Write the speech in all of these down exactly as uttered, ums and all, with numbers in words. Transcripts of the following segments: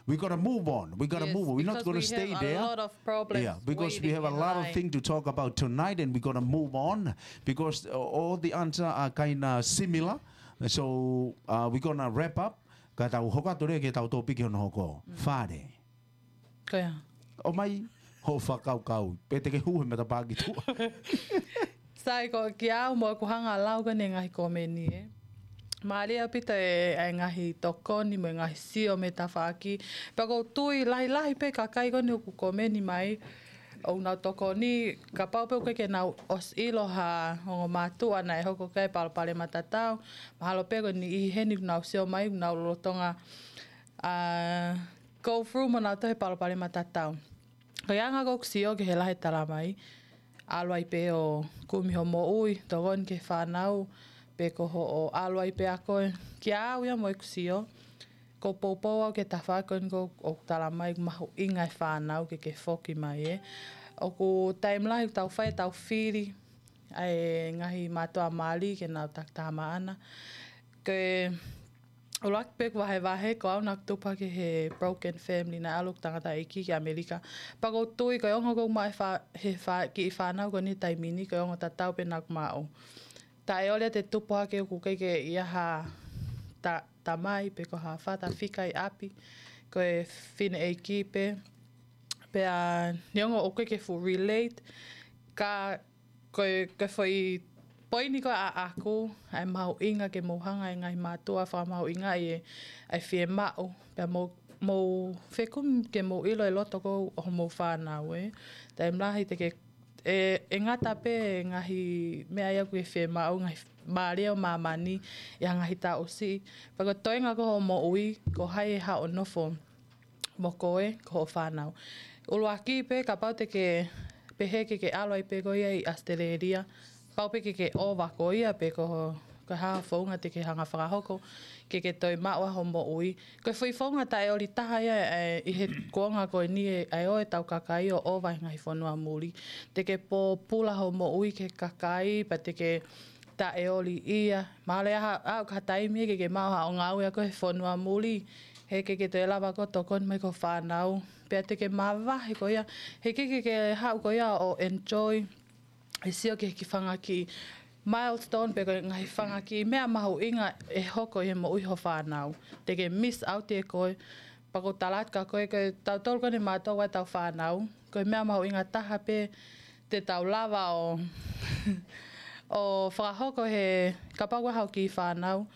We gotta move on. We gotta Yes, move on. We're not because gonna we stay have a there. lot of problems Yeah, because we waiting have a in lot of line. Things to talk about tonight, and we're gonna move on because uh, all the answers are kind of similar. So uh, we're gonna wrap up. Ka tau hoko atu leva ki heʻetau tōpiki hono hoko. Fale. Ko ia. ʻOmai hoʻo fakakaukau. Pe te ke hū he matapā ki tuʻa. Sai, ko kia au mo ʻeku hanga ʻo lau ko eni e ngaahi komeni, ē. Mālie ʻaupito e, e ngaahi tokoni mo e ngaahi sio mei he tafaʻaki. Pea ʻoku ou tui lahilahi pē kakai ko eni ʻoku komeni mai, ʻoku nau tokoni, kapau pē ʻoku ʻikai ke nau ʻosi ʻilo ha ongo mātuʻa naʻe hoko ki ai e palopalema tatau. Mahalo pē ko e niʻihi heni ʻoku nau sio mai, ʻoku nau lolotonga, ā, go through mo nautolu he palopalema tatau. Ko e anga ko ē ʻeku sio ki he lahi e talamai, ʻalu ai pē ʻo kumi hoʻo moʻui, tokoni ki he fānau, pe ko hoʻo ʻalu ai pē ʻa koe. Kia au ia mo ʻeku sio, ʻoku ou poupou au ki he tafaʻaki ko eni ʻoku talamai ʻoku mahuʻinga e fānau ke ke foki mai, ē. ʻOku taimi lahi ʻoku tau fai ʻetau fili ʻa e ngaahi mātuʻa mali ke nau takitaha maʻana. Ko e ʻuluaki pē ʻeku vahevahe, ko au naʻá ku tupu hake he broken family, naʻe ʻalu ʻeku tangataʻeiki ki ʻAmelika. Pea ʻoku ou tui ko e ongo ko ē ʻoku maʻu he fā-, he fā-, kiʻi fānau ko eni he taimi ni, ko e ongo tatau pē naʻá ku maʻu. Taʻeoli ʻa e tupu hake ʻoku ʻikai ke ʻi ai ha ta-, tamai pe ko ha father figure ʻi ʻapi, ko e fineʻeiki pē. Pea neongo ʻoku ʻikai ke fuʻu relate, ka ko e, ko e foʻi poini ko ē ʻaʻaku, ʻa e mahuʻinga ke mou hanga ʻe he ngaahi mātuʻa ʻo fakamahuʻingaʻi e, ʻa e fiemaʻu, pea mou, mou fekumi ke mou ʻilo e loto ko ē ʻo homou fānau, ē. Taimi lahi te ke, ʻe, ʻe ngata pē e ngaahi meʻa ia ʻoku ke fiemaʻu, ngaahi mālie ʻo māmani, ʻi ha ngaahi taʻu siʻi. Pea ko e toenga ko ē hoʻo moʻui, ko hai ʻe haʻu ʻo nofo mo koe, ko hoʻo fānau. ʻUluaki pē, kapau te ke pehē ke ke ʻalu ai pē koe ia ʻi ʻAositelēlia, pau pē ke ke ʻova koe ia pe ko, ko e hā ha founga te ke hanga ʻo fakahoko, ke ke toe maʻu ʻa hoʻo moʻui. Ko e foʻi founga taʻeoli taha ia, ē, ʻi he kuonga ko eni ē, ʻa e ō ʻetau kakai ʻo ʻova he ngaahi fonua muli. Te ke pōpula hoʻo moʻui ki he kakai, pea te ke taʻeoli ia. Mahalo ʻe ʻi ai ha, ʻa, ha taimi ke ke maʻu haʻo ngāue ʻa koe he fonua muli, he ʻikai ke toe lava ʻe koe ʻo tokoni mai ki hoʻo fānau. Pea te ke mavahe koe ia, he ʻikai ke ke haʻu koe ia ʻo enjoy, ʻe sio ki he kiʻi fanga kiʻi milestone pe ko e ngaahi fanga kiʻi meʻa mahuʻinga ʻe hoko ʻi he moʻui hoʻo fānau. Te ke miss out ʻe koe, pea ʻoku ou tala atu kia koe, ko tautolu ko eni mātuʻa ʻoku ʻi ai ʻetau fānau, ko e meʻa mahuʻinga taha pē te tau lava ʻo, ʻo fakahoko he, kapau ʻoku ʻi ai haʻo kiʻi fānau,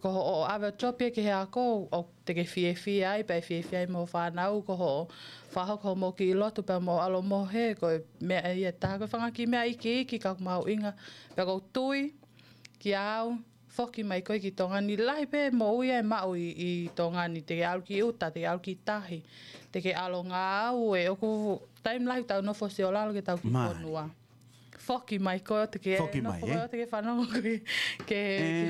ko hoʻo ʻave ʻo job ia ki he ako, ʻoku te ke fiefia ai, pea ʻe fiefia ai mo hoʻo fānau, ko hoʻo fakahoko hoʻomou kiʻi lotu pea mou ʻalu ʻo mohe, ko e meʻa ia ʻe taha, ko e fanga kiʻi meʻa iiki, iiki ka ʻoku mahuʻinga, pea ʻoku ou tui, kia au, foki mai koe ki Tonga ni. Lahi pē moʻui ʻe maʻu ʻi, ʻi Tonga ni, te ke ʻalu ki ʻuta, te ke ʻalu ki tahi, te ke ʻalu ʻo ngāue, ʻoku taimi lahi ʻoku tau nofo ʻo sio lalo ki heʻetau kiʻi fonua. Foki mai koe ʻo te ke nofo koe ʻo te ke fanongo koe ki, ki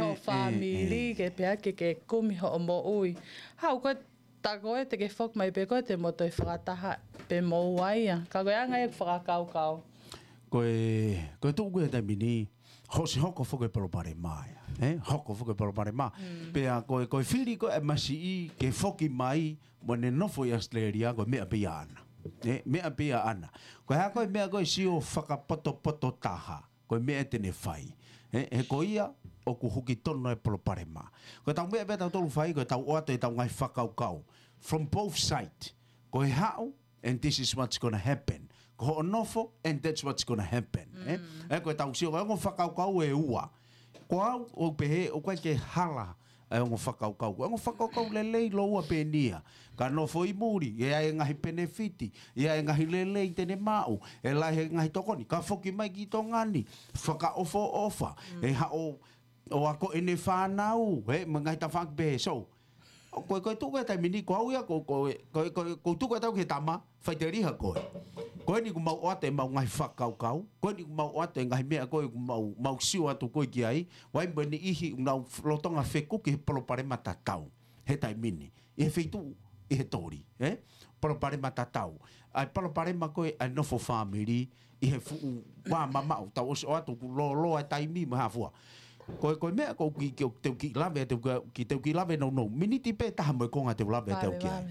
hoʻo fāmili, ke pehē ke ke kumi hoʻo moʻui. Haʻu koe, tā koe te ke foki mai pē koe te mou toe fakataha pē mo ʻeku ʻai ia. Ka ko e anga ia ʻeku fakakaukau. Ko e, ko e tuʻu ko ē he taimi ni, hoko, hoko foki e palopalema ia. Ē? Hoko foki e palopalema. Pea ko e, ko e fili ko ē ʻa e masiʻi ke foki mai, mo ʻene nofo ʻi ʻAositelēlia, ko e meʻa pē ia ʻaʻana. Ē? Meʻa pē ia ʻaʻana. Ko e hā ko ē meʻa ko ē sio fakapotopoto taha, ko e meʻa te ne fai. Ē? He ko ia, ʻoku huki tonu ai e palopalema. Ko ʻetau meʻa pē ʻa tautolu ʻoku fai, ko ʻetau ʻoatu ʻetau ngaahi fakakaukau. From both sides. Ko e haʻu, and this is what's gonna happen. Ko hoʻo nofo, and that's what's gonna happen. Ē? Ē, ko ʻetau sio, ko e ongo fakakaukau ʻe ua. Ko au, ʻoku ou pehē, ʻoku ʻikai ke hala ʻa e ongo fakakaukau. Ko e ongo fakakaukau lelei lōua pē eni ia. Ka nofo ʻi muli, ʻe ʻi ai e ngaahi penefiti, ʻe ʻi ai e ngaahi lelei te ne maʻu, ʻe lahi e ngaahi tokoni, ka foki mai ki Tonga ni, fakaʻofoʻofa, ʻe haʻu ʻo ako ʻene fānau, ē, mo e ngaahi tafaʻaki pehē. So, ʻo ko e, ko e tuʻu ko ē he taimi ni, ko au ia, ko, ko, ko, ko, ko e tuʻu ko ē ʻetau ki he tama, faʻiteliha koe. Ko eni ʻoku mau ʻoatu ʻemau ngaahi fakakaukau, ko eni ʻoku mau ʻoatu e ngaahi meʻa ko ē ʻoku mau, mau sio atu ko ē ki ai, ʻoku ʻi ai mo e niʻihi ʻoku nau lolotonga fekuki he palopalema tatau he taimi ni. ʻI he feituʻu, ʻi he toli, ē? Palopalema tatau. ʻA e palopalema ko ē ʻa e nofo fāmili, ʻi he fuʻu vā mamaʻo, tau ʻosi ʻoatu ʻoku lōloa e taimi mo e hā fua. Ko e, ko e meʻa ko ē ki, ki, te u kiʻi lave, te u ki, te u kiʻi lave nounou. Miniti pē taha mo e konga te u lave, te u ki ai.